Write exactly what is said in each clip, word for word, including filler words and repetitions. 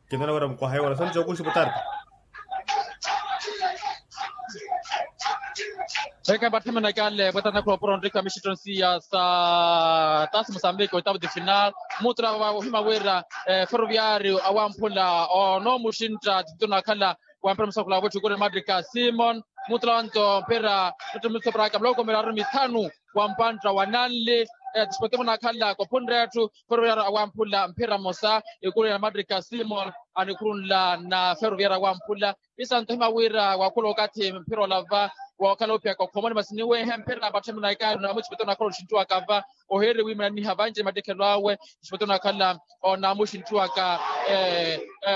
Kintana wira mukwaha yowala soni cokuxi putarta. Eke vatthemenekale pwetana khulopuro nrikha mixittonsiya sa tasi mosambiki oitavu ti final. Mutula vava ohima wira ferroviario awamphula onoomuxintta titito nakhala wa mpira musakhula wetthi kuri matrika simon. Mutula wanto mpira titito musaparaka muloko miraru mithanu wa mpantta wa nanli. Tisipote munakhala kophunre etthu ferroviario awamphula mphira mmosa. Ikulu ya matrika simon anikhurunla na ferroviario awamphula. Isanto hima wira wakhula okathi mphira olava wokhala ophiyaka okhomoni masi niwehe mphira patthemuna ikaari namuchipete onakhala oxinttuwaka va. Ohiiri wimana niha vanci mattikhelo awe. Chipete onakhala onamuxinttuwaka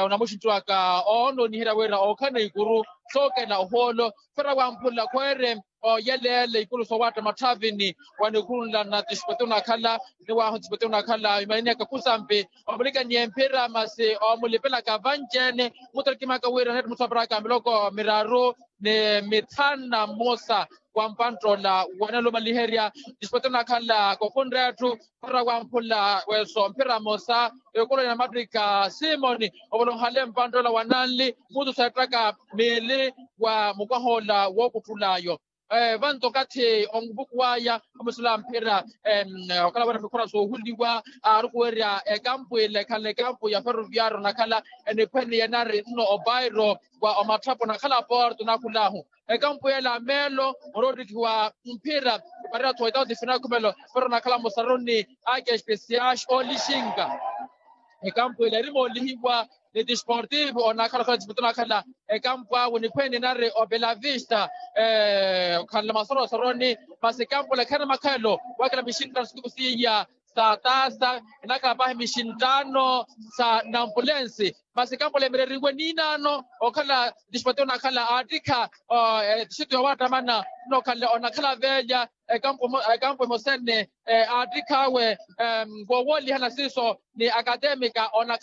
onamuxinttuwaka oononiherya wira okhana ikuru sookela ohoolo. Mphira wamphula khweere oyeleele ikulu soowatta matthavini. Wanikhurunla na tisipete onakhala niwahu tisipete onakhala imanini aka khusampi omulikaniye mphira masi omulipelaka vanci-ene. Muttarikimaka wira netti muthu aparaka miloko miraru ni mithanu na mmosa wa mpantta ola wanalumaliherya. Tisipete onakhala kokhunre etthu mphira wamphula weso mphira mmosa. Ekulu ya matrika simoni ovolohale mpantta ola wa nanli mutu seettaka miili wa mukwaha ola wookuttul'ayo. Vanto okathi onvuku waya omusula mphira okhala wira mikhora soohuliwa aarukuwerya ekampu ile ekhala ekampu ya ferroviario onakhala eniphwene yenari nno opairo wa omatthapwa onakhala porto nakhul'ahu. Ekampu yela meelo oroottikhiwa mphira iparira thoita otifina khumelo ferro onakhala mosaruni ake especiais oolixinka. Ekampu ile erimoolihiwa ni tisportivo onakhala okhala tisportivo onakhala ekampu awe niphwene inari opelavista okhanla masorosoroni. Masi ekampu ole khaina makhelo wakela mixinttano situku siiya sa tasa inakhala pahi mixinttano sa nampulensi. Masi ekampu ole mireriwe niinaano okhala tisportivo onakhala aattikha tixito yowattamana nno okhanle onakhala veelya ekampu emosene aattikha awe. Wowoolihana siiso ni akatemika onakhala